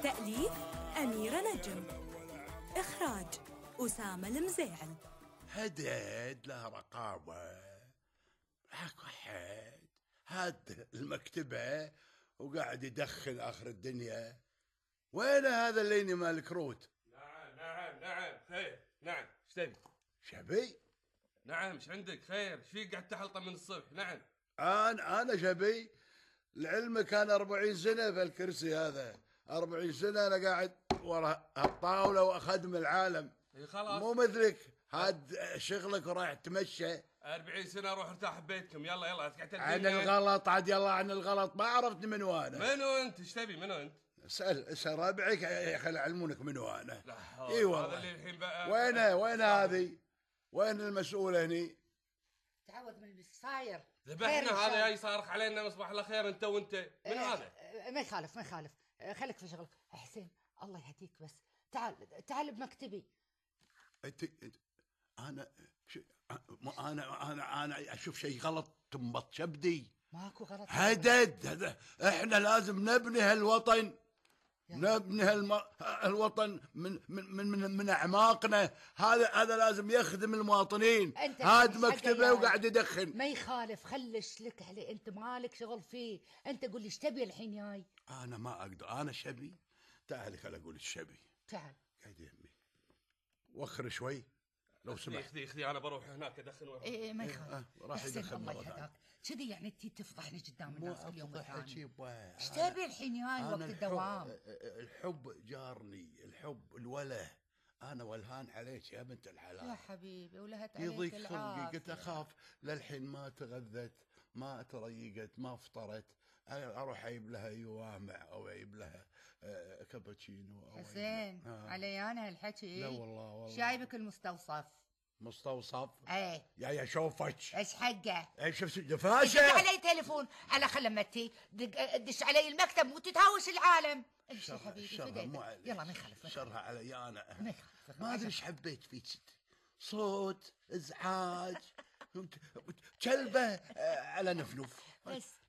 تأليف أميرة نجم، إخراج أسامة المزيعل. هدد له رقابة، هاك واحد هاد المكتبة وقاعد يدخن آخر الدنيا. وين هذا اللي مالك روت؟ نعم خير. نعم ايش تبي؟ شبي؟ نعم ايش عندك خير؟ ايش فيك قاعد تحلطم من الصبح؟ نعم أنا شبي لعلمك كان 40 سنة في الكرسي هذا، 40 سنة أنا قاعد ورا هالطاولة وأخدم العالم. خلاص مو مثلك هاد شغلك ورايح تمشى. 40 سنة روح ارتاح ببيتكم. يلا تقعد عن الغلط عاد، يلا عن الغلط. ما عرفتني منو أنا. منو أنت؟ ايش تبي؟ منو أنت؟ اسأل ربعك خل يعلمونك منو أنا. اي والله. هذا اللي الحين بقى وين هذه؟ وين المسؤولة هني؟ تعود من اللي صاير. ذبحنا هذا جاي صارخ علينا مصباح الله خير. انت وانت من هذا؟ ما يخالف خليك في شغلك. حسين الله يهديك، بس تعال بمكتبي. انت انا اشوف شيء غلط تنبط شبدي. ماكو غلط. هدد احنا لازم نبني هالوطن، نبني الوطن من اعماقنا. هذا لازم يخدم المواطنين. هاد مكتبه وقاعد يدخن. ما يخالف، خلش لك عليه، انت مالك شغل فيه. انت قول لي ايش تبي الحين جاي؟ انا ما اقدر، انا شبي. تعالي خل اقول الشبي. تعال قاعد يمي وخر شوي لو سمحت. خذي انا بروح هناك ادخن. ايه ما يخالف. راح يدخن الله يهداك. كذي يعني انت تفضحني قدام الناس كل يوم والثاني. ايش تبي الحين جاي وقت الدوام؟ الحب جارني، الحب الوله. انا ولهان عليك يا بنت الحلال يا حبيبي، ولهت عليك يضيق العافية. خلقي. قلت اخاف للحين ما تغذت، ما تريقت، ما فطرت، اروح اجيب لها يوامع او اجيب لها كابتشينو او حسين علي انا هالحكي. لا والله شايبك المستوصف. مستوصف؟ ايه يا شوفك ايش حقه؟ ايش شفت دفاشه؟ دق علي تليفون على خلمتي، دش علي المكتب وتتهاوش العالم. امشي حبيبي يلا ما يخالف. شرها علي انا. ما ادري ايش حبيت فيك، صوت ازعاج كلبه على نفنف بس.